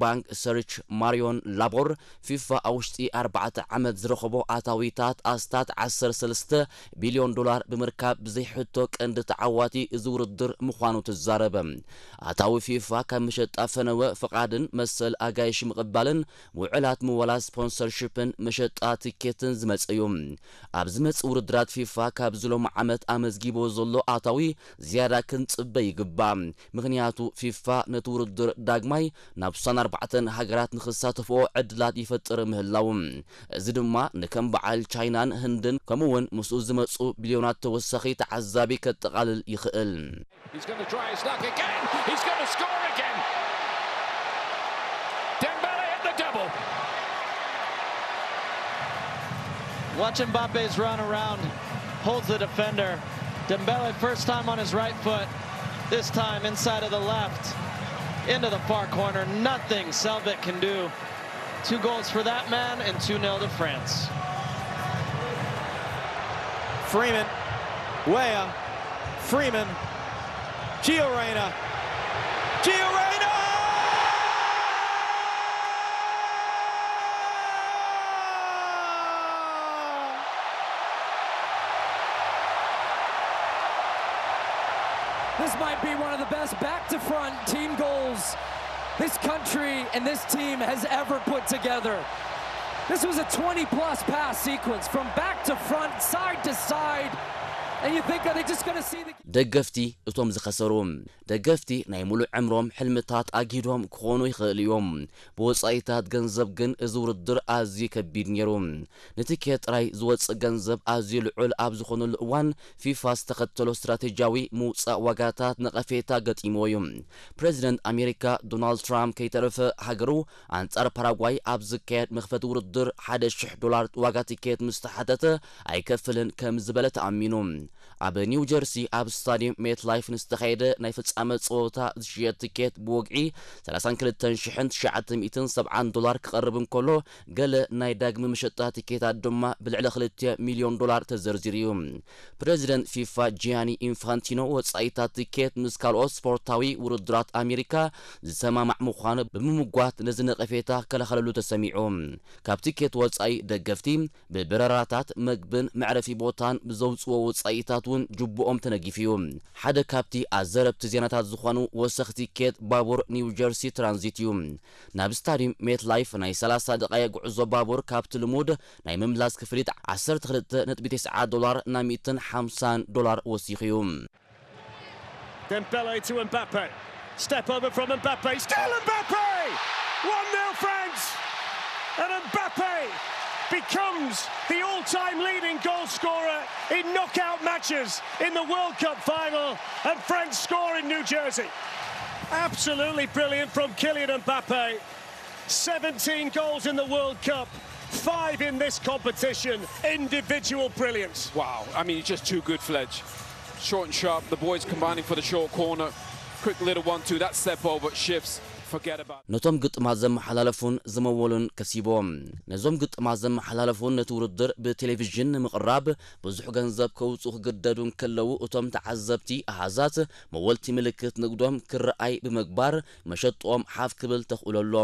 ባንክ ሰርች ማሪዮን ላቦር፣ ፊፋ ኣብ ውሽጢ ኣርባዕተ ዓመት ዝረኸቦ ኣታዊታት ኣስታት ዓሰርተ ሰለስተ ቢልዮን ዶላር ብምርካብ ብዘይሕቶ ቀንዲ ተዓዋቲ እዚ ውድድር ምዃኑ ትዛረበ። ኣታዊ ፊፋ ካብ መሸጣ ፈነወ ፍቓድን መሰል ኣጋይሽ ምቕባልን ውዕላት ምወላ ስፖንሰርሺፕን መሸጣ ትኬትን ዝመጽእ እዩ። ኣብ ዝመጽእ ውድድራት ፊፋ ካብዚ ሎሚ ዓመት ኣመዝጊቦ ዘሎ ኣታዊ ዝያዳ ክንጽበ ይግባእ። ምኽንያቱ ፊፋ ነቲ ውድድር ዳግማይ ናብ ስሳን ኣርባዕተን ሃገራት ንኽሳተፍኦ ዕድላት ይፈጥር ምህላዉ፣ እዚ ድማ ንከም በዓል ቻይናን ህንድን ከምኡ እውን ምስኡ ዝመጹ ቢልዮናት ተወሳኺ ተዓዛቢ ከጠቓልል ይኽእል። He's going to try his luck again. He's going to score again. Dembele at the double. Watch Mbappe's run around, holds the defender. Dembele first time on his right foot, this time inside of the left, into the far corner. Nothing Selvik can do. Two goals for that man and two nil to France. Freeman, Weah, Freeman, Gio Reyna, Gio Reyna! This might be one of the best back to front team goals this country and this team has ever put together. This was a twenty plus pass sequence from back to front, side to side. And you think, are they just going to see the ደገፍቲ እቶም ዝኸሰሩ። ደገፍቲ ናይ ሙሉእ ዕምሮም ሕልምታት ኣጊዶም ክኾኑ ይኽእሉ እዮም። ብወጻኢታት ገንዘብ ግን እዚ ውድድር ኣዝዩ ከቢድ ነይሩ። ንትኬት ጥራይ ዝወጽእ ገንዘብ ኣዝዩ ልዑል ኣብ ዝኾነሉ እዋን፣ ፊፋ ዝተኸተሎ ስትራቴጂያዊ ምውጻእ ዋጋታት ነቐፌታ ገጢምዎ እዩ። ፕረዚደንት ኣሜሪካ ዶናልድ ትራምፕ ከይተረፈ፣ ሃገሩ ኣንጻር ፓራጓይ ኣብ ዝካየድ መኽፈቲ ውድድር ሓደ ሽሕ ዶላር ዋጋ ትኬት ምስ ተሓተተ ኣይከፍልን ከም ዝበለ ተኣሚኑ። ኣብ ኒው ጀርሲ ኣብ ስታዲየም ሜት ላይፍ ንዝተኻየደ ናይ ፍጻመ ጸወታ ዝሽየጥ ትኬት ብወግዒ ሰላሳን ክልተን ሽሕን ትሽዓተ ሚእትን ሰብዓን ዶላር ክቐርብ እንከሎ፣ ገለ ናይ ዳግመ መሸጣ ትኬታት ድማ ብልዕሊ ክልተ ሚልዮን ዶላር ተዘርዚሩ እዩ። ፕረዚደንት ፊፋ ጂያኒ ኢንፋንቲኖ ወጻኢታት ትኬት ምስ ካልኦት ስፖርታዊ ውድድራት ኣሜሪካ ዝሰማማዕ ምዃኑ ብምምጓት ነዚ ነቐፌታ ክከላኸለሉ ተሰሚዑ። ካብ ትኬት ወጻኢ ደገፍቲ ብበረራታት፣ መግብን መዕረፊ ቦታን ብዘውጽዎ ወጻኢታት እውን ጅቡኦም ተነጊፉ እዩ። ሓደ ካብቲ ኣዘረብቲ ዜናታት ዝኾኑ ወሰኽ ቲኬት ባቡር ኒው ጀርሲ ትራንዚት እዩ። ናብ ስታዲየም ሜት ላይፍ ናይ ሰላሳ ደቓይቕ ጉዕዞ ባቡር ካብቲ ልሙድ ናይ ምምላስ ክፍሊት ዓሰርተ ክልተ ነጥቢ ተስዓ ዶላር ናብ ሚእትን ሓምሳን ዶላር ወሲኹ እዩ። Dembele to Mbappe. Step over from Mbappe. Still Mbappe! one nil France! And Mbappe becomes the all-time leading goal scorer in knockout matches in the World Cup final, and France score in New Jersey. Absolutely brilliant from Kylian Mbappe. seventeen goals in the World Cup, five in this competition. Individual brilliance. Wow, I mean, he's just too good, Fledge. Short and sharp, the boys combining for the short corner. Quick little one two, that step over, shifts. Forget about. ነቶም ግጥማት ዘመሓላለፉን ዝመወሉን ከሲቦም። ነዞም ግጥማት ዘመሓላለፉን ነቲ ውድድር ብቴሌቪዥን ንምቕራብ ብዙሕ ገንዘብ ከውፅኡ ክግደዱ እንከለዉ፣ እቶም ተዓዘብቲ ኣሃዛት መወልቲ ምልክት ንግዶም ክረኣይ ብምግባር መሸጥኦም ሓፍ ክብል ተኽእሎ ኣሎ።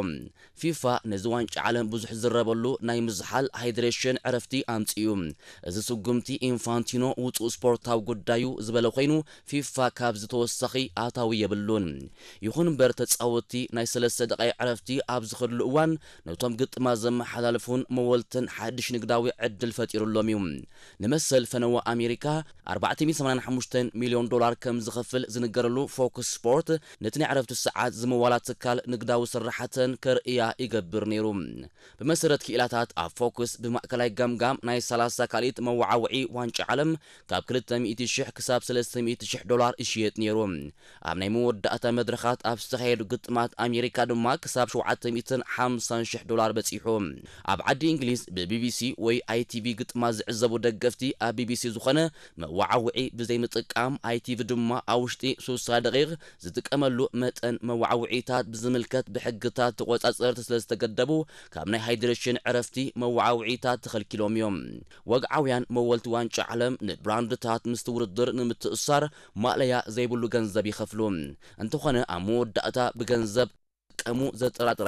ፊፋ ነዚ ዋንጫ ዓለም ብዙሕ ዝረበሉ ናይ ምዝሓል ሃይድሬሽን ዕረፍቲ ኣምጺኡ። እዚ ስጉምቲ ኢንፋንቲኖ ውጹእ ስፖርታዊ ጉዳዩ ዝበለ ኮይኑ፣ ፊፋ ካብዚ ተወሳኺ ኣታዊ የብሉን። ይኹን እምበር ተጻወትቲ ናይ ሰለስተ ደቓይ ዕረፍቲ ኣብ ዝኸድሉ እዋን ነቶም ግጥማት ዘመሓላልፉን መወልትን ሓድሽ ንግዳዊ ዕድል ፈጢሩሎም እዩ። ንመሰል ፈነወ ኣሜሪካ ኣርባዕተ ሚእቲ ሰማንያን ሓሙሽተ ሚልዮን ዶላር ከም ዝኸፍል ዝንገረሉ ፎክስ ስፖርት ነቲ ናይ ዕረፍቲ ሰዓት ዝመዋላ ትካል ንግዳዊ ስራሕተን ከርእያ ይገብር ነይሩ። ብመሰረት ክኢላታት ኣብ ፎክስ ብማእከላይ ገምጋም ናይ ሰላሳ ካልኢት መወዓውዒ ዋንጫ ዓለም ካብ ክልተ ሚእቲ ሽሕ ክሳብ ሰለስተ ሚእቲ ሽሕ ዶላር ይሽየጥ ነይሩ። ኣብ ናይ መወዳእታ መድረኻት ኣብ ዝተኻየዱ ግጥማት ኣሜሪካ ድማ ክሳብ ሸውዓተ ሚእትን ሓምሳን ሽሕ ዶላር በጺሑ። ኣብ ዓዲ እንግሊዝ ብቢቢሲ ወይ ኣይቲቪ ግጥማት ዝዕዘቡ ደገፍቲ ኣብ ቢቢሲ ዝኾነ መወዓውዒ ብዘይምጥቃም ኣይቲቪ ድማ ኣብ ውሽጢ ሱሳ ደቂቕ ዝጥቀመሉ መጠን መወዓውዒታት ብዝምልከት ብሕግታት ተቖጻጸርቲ ስለ ዝተገደቡ ካብ ናይ ሃይድሬሽን ዕረፍቲ መወዓውዒታት ተኸልኪሎም እዮም። ወግዓውያን መወልቲ ዋንጫ ዓለም ንብራንድታት ምስቲ ውድድር ንምትእሳር ማእለያ ዘይብሉ ገንዘብ ይኸፍሉ። እንተኾነ ኣብ መወዳእታ ብገንዘብ ከምዝጥቀሙ ዘጠራጥር